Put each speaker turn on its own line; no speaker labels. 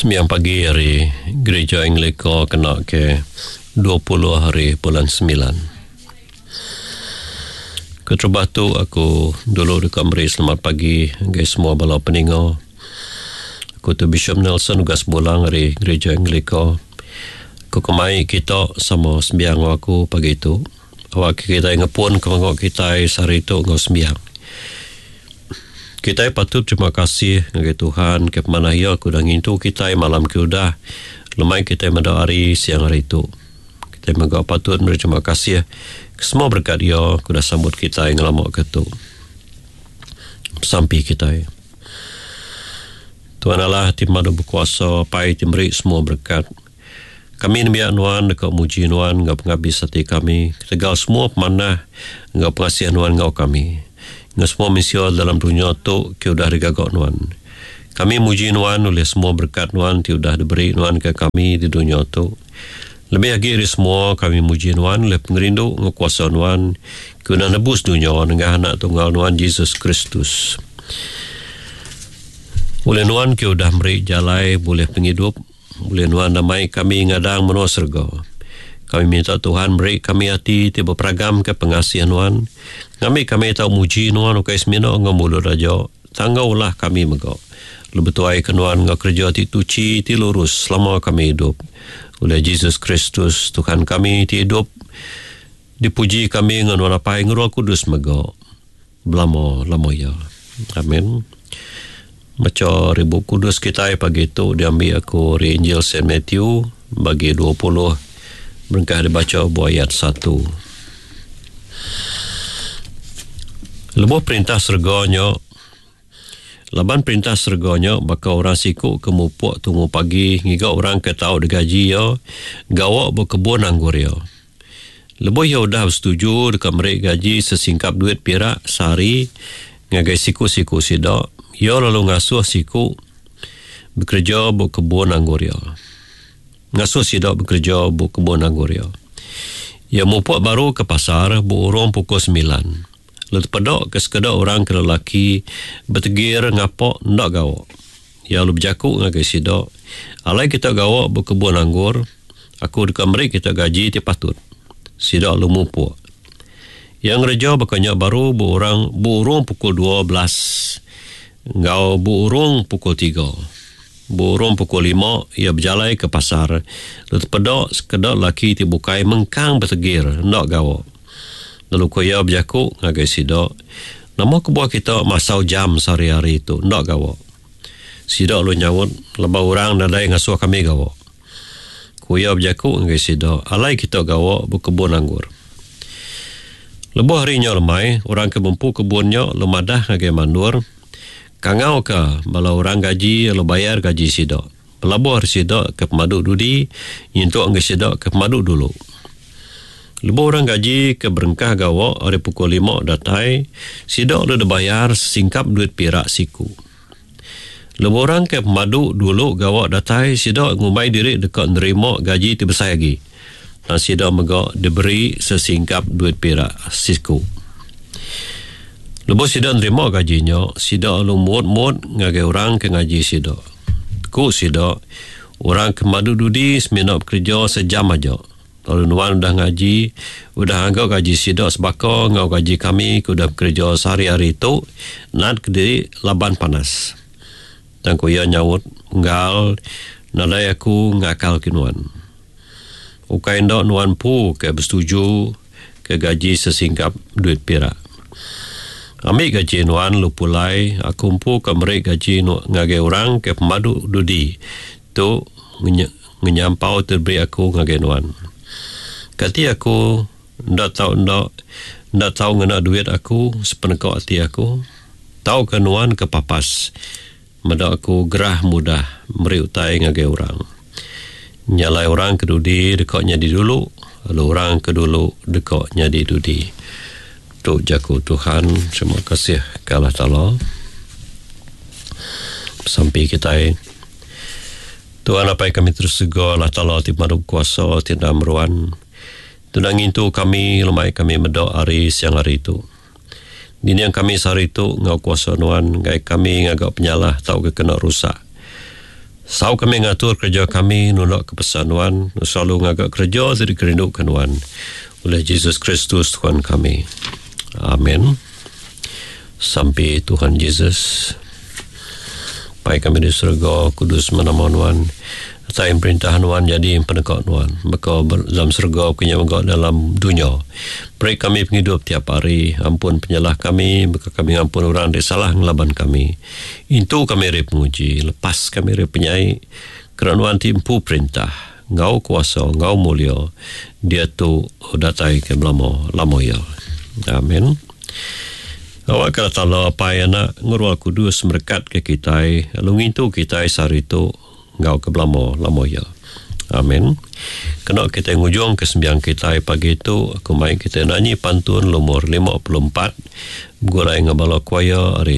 Sembiang pagi ari Gereja Anglika kena ke 20 hari bulan semilan. Keterubah tu aku dulu deka meri selamat pagi ngagai semua bala peninga. Aku tu Bishop Nelson Ugas Bulang ari Gereja Anglika. Aku kemai kita sama sembiang enggau aku pagi tu. Awakka kitai ngepun ke pengawa kitai sehari tu enggau sembiang. Kitai patut terima kasih ngagai Tuhan ke pemanah Iya ke udah ngintu kitai malam ke udah lemai kitai meda hari siang hari tu. Kitai mega patut meri terima kasih ke semua berekat Iya ke udah sambut kitai ngelama ke tu. Besampi kitai. Tuhan Allah ti pemadu bekuasa, Apai ti meri semua berekat. Kami nembiak Nuan deka muji Nuan enggau pengabis ati kami ketegal semua pemanah enggau pengasih Nuan enggau kami, enggau semua mensia dalam dunya tu ke udah digaga Nuan. Kami muji Nuan ulih semua berekat Nuan ti udah diberi Nuan ke kami di dunya tu. Lebih agi ari semua, kami muji Nuan ulih pengerindu enggau kuasa Nuan ke udah nebus dunya nengah Anak Tunggal Nuan Jesus Kristus. Ulih Nuan ke udah meri jalai bulih pengidup, Ulih Nuan enda mai kami ngadang menua serega. Kami minta Tuhan meri kami ati ti beperagamka pengasih Nuan, ngambi kami tau muji Nuan ukai semina enggau mulut aja, tang enggau ulah kami mega. Lalu betuaika Nuan enggau kereja ti tuchi ti lurus selama kami idup. Ulih Jesus Kristus, Tuhan kami ti idup, dipuji kami enggau Nuan Apai enggau Roh Kudus mega. Belama-lama iya. Amin. Macha ari Bup Kudus kitai pagi tu diambi aku ari Injil Saint Matthew bagi 20 berengkah dibacha buah ayat satu. Lebuh perintah serega nya laban perintah serega nya baka orang siku ke mupuk tumu pagi ngiga orang ke tau digaji iya gawa ba kebun anggur iya. Lebuh iya udah besetuju deka meri gaji sesingkap duit pirak sehari ngagai siku-siku sida, iya lalu ngasuh siku bekereja ba kebun anggur iya. Ngasuh sida bekereja ba kebun anggur iya. Iya mupuk baru ke pasar berurung pukul semilan, lalu tepeda ke sekeda orang ke lelaki betegir ngapa enda gawa. Iya lalu bejaku ngagai sida, Alai kita gawa ba kebun anggur, Aku deka meri kita gaji ti patut. Sida lalu mupuk. Iya ngereja baka nya baru beurang beurung pukul 12 enggau beurung pukul tiga. Beurung pukul lima iya bejalai ke pasar lalu tepeda sekeda lelaki ti bukai mengkang betegir enda gawa. Lalu ku iya bejaku ngagai sida, Nama kebuah kita masau jam sehari-hari tu enda gawa? Sida lalu nyaut, Laban orang nadai ngasuh kami gawa. Ku iya bejaku ngagai sida, Alai kita gawa bekebun anggur. Lebuh hari nya lemai, orang ke bempu kebun nya lalu madah ngagai mandur, Kangauka bala orang gaji lalu bayar gaji sida, belabuh ari sida ke pemadu dudi nyentuk ngagai sida ke pemadu dulu. Lebuh orang gaji ke berengkah gawa ari pukul lima datai, sida lalu dibayar sesingkap duit pirak siku. Lebuh orang ke pemadu dulu gawa datai, sida ngumbai diri deka nerima gaji ti besai agi. Tang sida mega diberi sesingkap duit pirak siku. Lebuh sida nerima gaji nya, sida lalu mut-mut ngagai orang ke ngaji sida. Ku sida, Orang ke pemadu dudi semina bekereja sejam aja. Lalu nuan udah ngaji, udah ngaga gaji sida sebaka enggau gaji kami ke udah bekereja sehari-hari tu nat kediri laban panas. Tang ku iya nyaut, Unggal, nadai aku ngakal ke nuan. Ukai enda nuan empu ke besetuju ke gaji sesingkap duit pirak. Ambi gaji nuan lalu pulai, aku empu ka meri gaji ngagai orang ke pemadu dudi tu ngenyampau ti diberi aku ngagai nuan. Kati aku enda tau enda enda tau ngena duit aku sepeneka ati aku? Tauka nuan ke papas meda aku gerah mudah meri utai ngagai orang? Nya alai orang ke dudi deka nyadi dulu, lalu orang ke dulu deka nyadi dudi. Tu jaku Tuhan. Terima kasih ke Allah Taala. Besampi kitai. Tuhan Apai kami terus sega Allah Taala ti pemadu bekuasa ti enda meruan. Tuna ngintu kami lemai kami meda hari siang hari tu. Dinding kami sehari tu enggau kuasa nuan enggai kami ngaga penyalah tauka kena rusak. Sau kami ngatur kereja kami nunda ke pesan Nuan, selalu ngaga kereja ti dikerinduka Nuan. Ulih Jesus Kristus Tuhan kami. Amen. Sampi Tuhan Jesus. Pai kami di serega, kudus meh nama Nuan. Datai perintah Nuan nyadi peneka Nuan. Baka dalam serega baka nya mega dalam dunya. Beri kami pengidup tiap hari. Ampun penyalah kami baka kami ngampun orang ti salah ngelaban kami. Intu kami ari penguji, lepas kami ari penyai, kena Nuan ti empu perintah, enggau kuasa, enggau mulia, diatu, datai ke belama lama iya. Amen. Awakka Allah Taala Apai Anak enggau Roh Kudus merekatka kitai lalu ngintu kitai sehari tu enggau ke belama lama iya. Amen. Kena kitai ngujungka sembiang kitai pagi tu, aku mai kitai nanyi pantun lumur 54 begulai enggau bala choir ari.